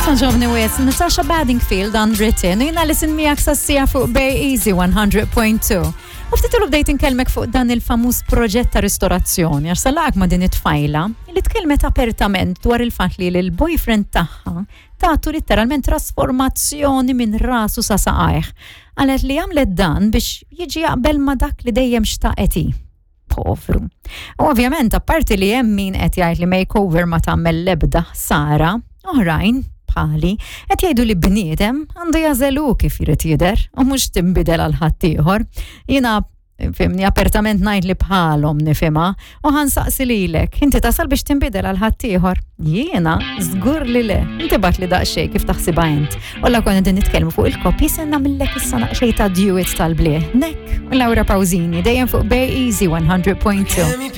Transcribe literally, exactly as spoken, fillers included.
Għoġobni wisq, Natasha Bedingfield, Unwritten, u jiena Alison miegħek sas-siegħa fuq Bay Easy one hundred point two. U ftit ilu bdejt inkellmek fuq dan il-famuż proġett ta' ristorazzjoni, għax salak ma' din it-tfajla li tkellmet apertament dwar il-fatt li l-boyfriend tagħha tatu literalment trasformazzjoni minn rasu sa saqajh. Qalet li għamlet dan biex jiġi jaqbel ma' dak li dejjem xtaqet hi. Povru. U ovvjament, apparti li hemm min qed jgħid li makeover ma tagħmel l-ebda ħsara, oħrajn bħali qed jgħidu li bniedem għandu jagħżel hu kif jrid jidher u mhux tinbidel għal ħaddieħor. Jiena, fhimni, apertament ngħid li bħalhom nifhimha u ħa nsaqsi lilek, inti tasal biex tinbidel għal ħaddieħor? Jiena żgur li le. Inti ibgħatli daqsxejn kif taħsibha int. U la konna din nitkellmu fuq il-koppji, se nagħmillek issa naqxej ta' duet tal-blieh. Nek u Laura Pausini, dejjem fuq Bay Easy one hundred point two.